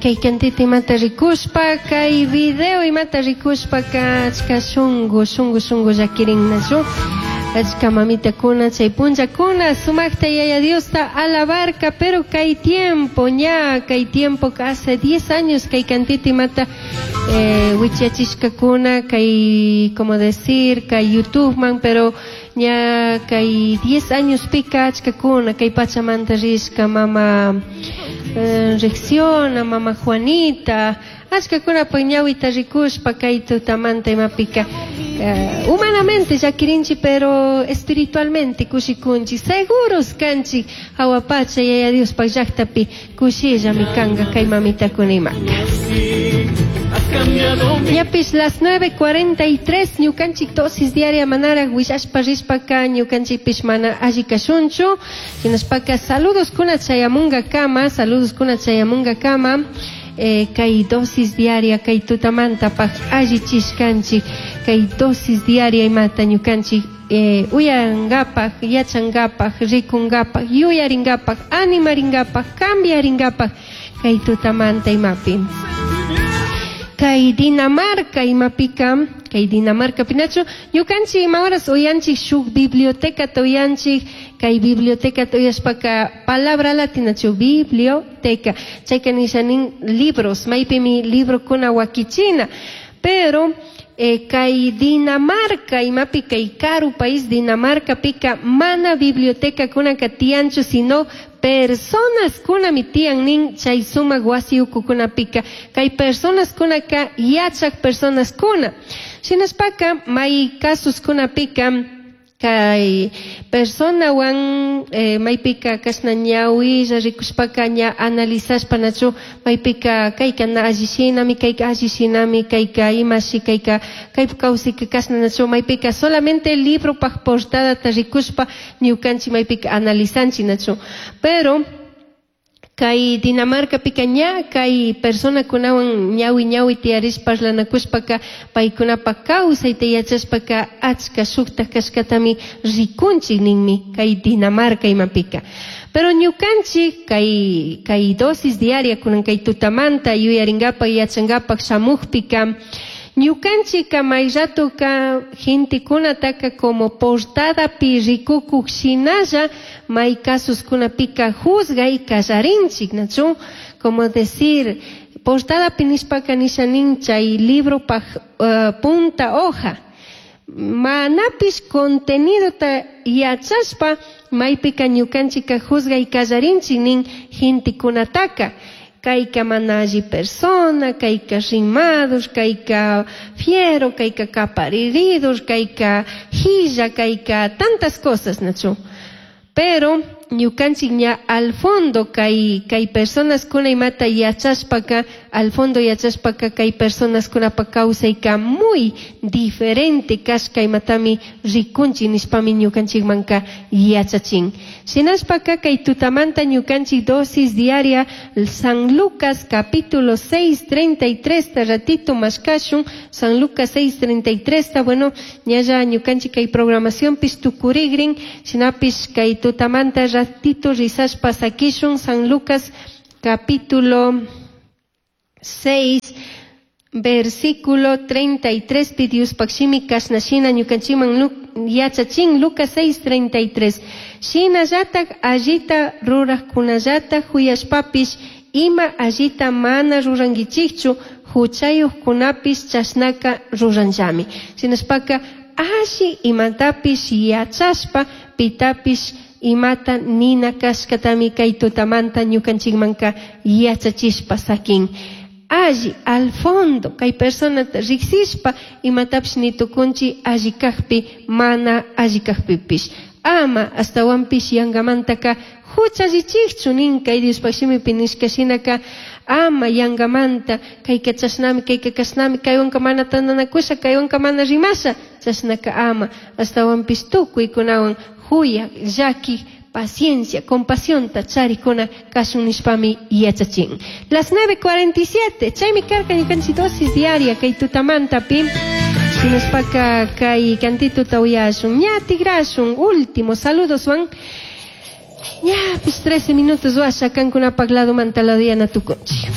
Kay cantita imata rikushpa, kay video imata rikushpaka achka shungu, shungu, shungu llakirinnachu. Achka mamitakuna chay punllakuna sumakta Yaya Diosta alabarka, pero kay tiempo, ña kay tiempo hace 10 años kay cantita imata wichachishkakuna kay, como decir, kay YouTube man, pero ña kay 10 años pika achkakuna kay pachamanta rishka mama Ricciona, mama Juanita, achkakuna pues ñawita rikushpa kay tutamanta imapika humanamente llakirinchi, pero espiritualmente kushikunchi, seguros kanchi hawa pacha Yaya Diospaj llaktapi kushillami kanka kay mamitakuna imaka. Ñapish las 9:43 ñukanchik dosis diaria manaraj willashpa rishpaka ñukanchikpish mana alli kashunchu, hinashpaka saludos kuna chayamunga kama, saludos kuna chayamunga kama, kay dosis diaria kay tutamantapaj allichishkanchik, kay dosis diaria imata ñukanchik uyaringapaj, yachangapaj, rikungapaj, yuyaringapaj, animaringapaj, cambiaringapaj kay tutamanta imapi. Kay Dinamarca imapika, kay Dinamarca pinachu, ñukanchik ima horas uyanchik shuk biblioteca uyanchik, kay biblioteca uyashpaka palabra latinachu biblioteca, chayka nishanin libros, maypimi librokuna wakichina, pero kay Dinamarca imapi kay karu país Dinamarca pika mana biblioteca kunaka tiyanchu, sino personas kunami tiyan nin chay sumak wasi ukukunapika, kay personas kunaka yachak personas kuna. Shinashpaka may casos kunapika kay personawan maypika kashna ñawilla rikushpaka ña analizashpa nachu maypika kayka na alli shinami, kayka alli shinami, kayka imashi, kayka kaypa kawsayka kashna nachu maypika solamente libropaj portadata rikushpa ñukanchik maypika analizanchik nachu, pero kay Dinamarca pika ña kay personakunawan ñawi ñawi tiyarishpa parlanakushpaka paykunapa kawsayta yachashpaka achka shukta kashkatami rikunchik ninmi kay Dinamarca imapika. Pero ñukanchik kay dosis diaria kunan kay tutamanta yuyaringapak yachangapak shamukpika ñukanchika may ratoka gentekunataka como portadapi rikukuk shinalla may casos kunapika juzgay kallarinchik, nachu? Como decir, portadapi nishpaka nishanin chay libropaj punta hoja. Manapish contenidota yachashpa maypika ñukanchika juzgay kallarinchik nin gentekunataka. Kayka mana alli persona, kayka rimados, kayka fiero, kayka capariridos, kayka hilla, kayka tantas cosas, nachu. Pero ñukanchik ña al fondo kay personas kuna imata yachashpaka, al fondo yachashpaka kay personas kunapa kawsayka muy diferente kashka imatami rikunchik nishpami ñukanchikmanka yachachin. Shinashpaka kay tutamanta ñukanchik dosis diaria San Lucas capítulo 6:33 ta ratito mashkashun, San Lucas 6:33 ta, bueno, ñalla ñukanchik kay programación pis tukurigrin, shinapish kay tutamanta ratito risashpa sakishun San Lucas capítulo 6 versículo 33 pi Diospaj shimi kashna shina ñukanchikman yachachin Lucas 6:33. Shinallatak allita rurajkunallata huyashpapish ima allita mana rurankichikchu huchayuqkunapish chashnaka ruranllami. Shinashpaka alli imatapish yachashpa pitapish imata nina kashkatami kay tutamanta ñukanchikmanka yachachishpa sakin. Alli al fondo kay personata riksishpa imatapish nitukunchi alli kajpi mana alli kajpipish. Ama astawanpish yangamantaka huchallichikchu nin kay Diospaj shimipi nishka shinaka ama yangamanta kayka chashnami kayka kashnami kaywanka mana tantanakusha kaywanka mana rimasha chashnaka ama astawanpish tukuykunawan huyak llaki paciencia, compasión, charikuna kashun nishpami yachachin. Las 9:47, chaymi karka ñukanchik dosis diaria kay tutamanta pi. Shinashpaka kay cantituta uyashun, ña tigrashun, último saludos wan. Ña, pues 13 minutos washa kankunapaj lado manta lado yana tukunchik.